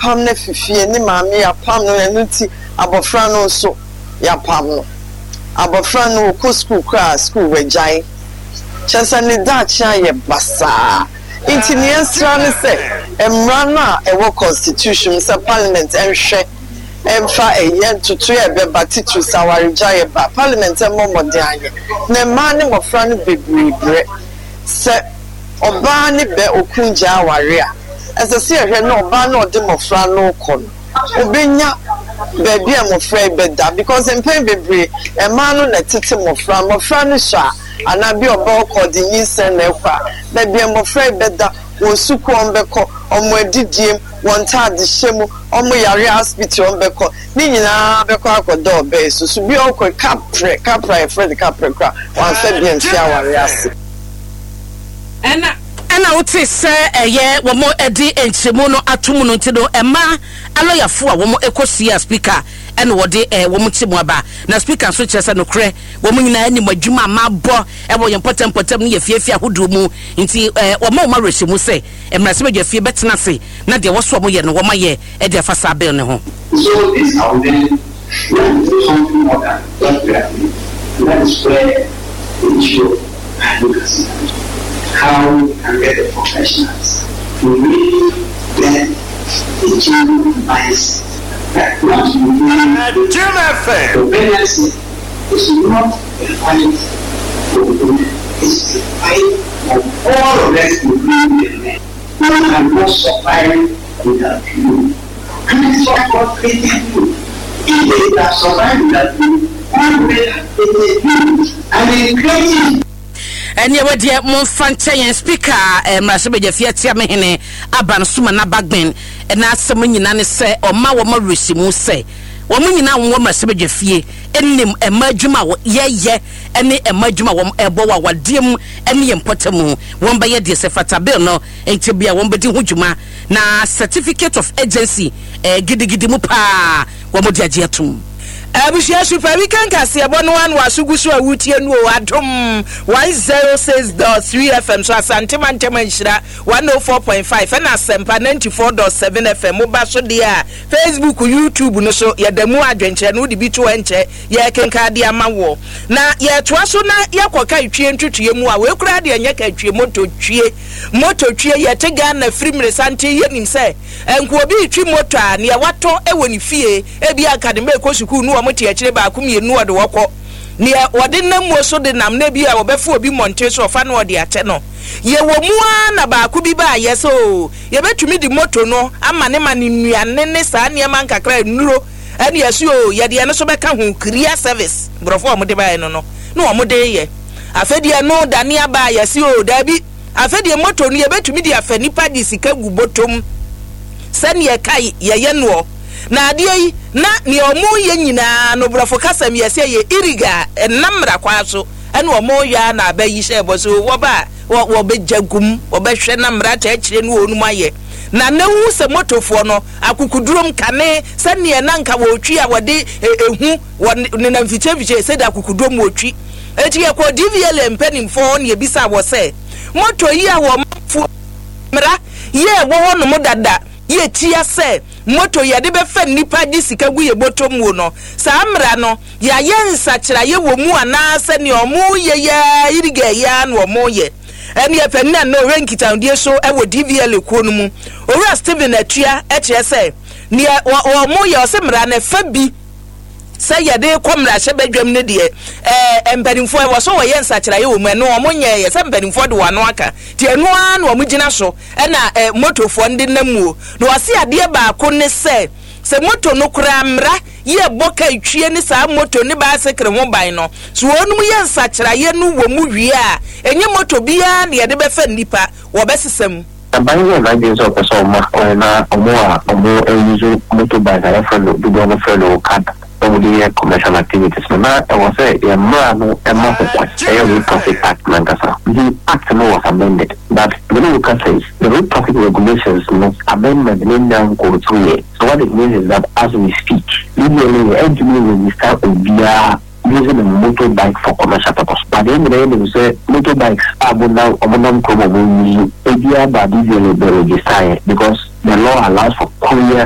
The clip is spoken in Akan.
Yɛapam no afi fie, ne maame yɛapam no, ɛno nti abɔfra no nso yɛapam no. Abɔfra no ɔkɔ sukuu koraa a, sukuu wagyae. Kyerɛ sɛ ne daakye ayɛ basaa. Nti nea yɛsrɛ ne sɛ mmara no a ɛwɔ constitution mu sɛ parliament nhwɛ mfa ɛyɛ ntotoeɛ a ɛbɛba titiriw sɛ awaregyaeɛ ba a, parliament mmɔ mmɔden anyɛ. Na mmaa ne mmɔfra no bebree brɛ. Sɛ ɔbaa ne bɛ okunu gyae aware a, ɛsɛ sɛ yɛhwɛ na ɔbaa no a ɔde mmɔfra no rekɔ no, ɔbɛnya baabi a mmɔfra yi bɛda because mpɛn bebree mmaa no na ɛtete mmɔfra, mmɔfra no sua a anaa bi a ɔbaa ɔkɔ ɔde nyinsɛn na ɛkɔ a, baabi a mmɔfra yi bɛda, wɔn sukuu a wɔbɛkɔ, wɔn adidie mu, wɔn ntaadehyɛ mu, wɔn yare a hospital a wɔbɛkɔ, ne nyinaa bɛkɔ akɔda ɔbaa yi so. So bi a ɔkɔ kaprɛ, kaprɛ a yɛfrɛ no kaprɛ koraa, wamfa bi amfi awareɛ ase. Ɛna ɛna wotee sɛ ɛyɛ wɔn de nkyerɛmu no ato mu no nti no ɛma alɔyafo a wɔn kɔ hyia speaker ɛna wɔde wɔn nkyerɛmu aba. Na speaker nso kyerɛ sɛ nokorɛ wɔn nyinaa nim adwuma a mabɔ ɛwɔ yɛn mpɔtam mpɔtam ne yɛn afiafi ahodoɔ mu nti wɔma wɔn awerɛhyɛmu sɛ mmarahyɛbadwafie bɛtena ase na deɛ ɛwɔ so wɔn yɛ no wɔn ayɛ de afa saa bill no ho. So this our then we have to do something more than what we are doing and that is where the issue of advocacy comes in, how we can get the professionals to really get a change of mindset that what you do for pregnancy is not a fight for women, it's a fight for all of us including the men. Who cannot survive without you and it's what God created you. If they have survived without you, God would have created you and in creating Ɛneɛ wɔ deɛ momfa nkyɛ yɛn Speaker eh, mmarahyɛbadwafie Atiamehene Aban Sumana Bagbin n'asɛm nyina ne sɛ ɔma wɔn awerɛhyɛmu sɛ wɔn nyina a wɔwɔ mmarahyɛbadwafie nim mma adwuma a yɛyɛ ne mma adwuma a wɔn ɛbɔ wɔ awadeɛ mu ne yɛn mpɔtam. Wɔn bɛyɛ deɛ sɛ fata bill no nkyɛ bi a wɔn bɛdi ho dwuma na certificate of agency eh, gidigidi mu paa wɔn de agye atum. Abusua Super Weekend kaseɛbɔ no ano aso gu so a wotie no o Adom 106.3 FM so Asante Mantam Anhyira 104.5 ɛna Asɛmpa 94.7 FM moba so deɛ a Facebook YouTube no so yɛda mu adwenkyerɛ no wode bi to ɛnkyɛ yɛrekenkan de ama woɔ na yɛtoa so na yɛkɔ ka twie ntwetweɛ mu a wei koraa deɛ nyɛ ka twie moto twie moto twie yɛte Ghana firi mmeresanten yɛnim sɛ nka obi retwi moto a neɛ watɔ wɔ ne fie ebi anka ne mma ɛkɔ sukuu no wɔn te akyire baako mmienu ɔde wɔkɔ neɛ wɔde nam muo so de nam na ebi a wɔbɛfo obi mmɔnten so ɔfa no ɔde akyɛ no yɛwɔ mu ara na baako bi baa yɛ sɛ oo yɛbɛtumi de moto no ama ne ma ne nnuane ne saa nneɛma nkakra nnuro Ɛne yɛse oo yɛde ɛno nso bɛka ho, career service, nkurɔfoɔ a wɔde baeɛ no no na wɔde reyɛ. Afei deɛ ɛno dane aba a yɛse oo daabi, afei deɛ moto no yɛbɛtumi de afa nnipa de sika gu bɔtɔm sɛdeɛ ɛkae yɛyɛ noɔ. Na adeɛ yi na deɛ wɔreyɛ nyinaa no borɔfo kasa mu yɛse ɛyɛ illegal, ɛnam mmara kwan so ɛna wɔreyɛ ara na aba yi hyɛɛ bɔ sɛ oo wɔba a wɔbɛgya gu mu, wɔbɛhwɛ na mmara kyerɛkyerɛ no wɔnom ayɛ. Na na wohu sɛ motofoɔ no akokodurom kane sɛdeɛ na anka wɔretwi a wɔde ehu wɔ nenam mfikyire mfikyire sɛdeɛ akokodurom wɔtwi. Enti yɛkɔɔ DVLA mpanimfoɔ hɔ na yɛbisaa wɔ sɛ, Moto yi a wɔmanfoɔ mmara yi a ɛwɔ hɔ nom dada yi tia sɛ moto yɛde bɛfa nnipa de sika gu yɛ bɔtɔ muo no, saa mmara no yɛayɛ nsakyeraeɛ wɔ mu anaa sɛ nea wɔreyɛ yi ara iriga yi ara na wɔreyɛ? Ɛneɛ panin a na ɔhwɛ nkitahodie so wɔ DVLA kuo no mu, Owura Stephen Atua kyerɛ sɛ neɛ wɔn yɛ ɔse mmara no ɛfa bi sɛ yɛde kɔ mmarahyɛbadwam no deɛ ɛɛ mpanimfoɔ ɛwɔ so wɔyɛ nsakyeraeɛ wɔ mu, ɛno wɔn nyɛɛyɛ sɛ mpanimfoɔ de wɔn ano aka nti ɛno ara na wɔn gyina so ɛna ɛɛ motofoɔ no de nam muo. Na ɔse adeɛ baako ne sɛ sɛ moto no koraa mmara yɛ bɔ ka twie ne saa moto ne baesekre ho ban no, so wɔnom yɛ nsakyeraeɛ no wɔ mu wie a, ɛnyɛ moto biara na yɛde bɛfa nnipa, wɔbɛsesa mu. Aban yɛɛ n'adwene sɛ ɔpɛ sɛ ɔma kwan na wɔn a wɔn use motor bike a yɛfrɛ no dodoɔ no frɛ no Okada na wɔde yɛ commercial activities no, na ɛwɔ sɛ yɛn mmara no ma ho kwan, ɛyɛ Road Traffic Act no ankasa. Nti Act no was amended but me ne wo kasa yi, the Road Traffic Regulations no amendment no nnya nkɔɔ through yɛ. So what it means is that as we speak, DVLA ɛntumi nregister obiara using a motor bike for commercial purpose. But yɛn nyinaa yɛnim sɛ motor bikes a mo nam ɔmo nam kurom a ɔmo use ebiara ba DVLA bɛ register yɛ because the law allows for courier.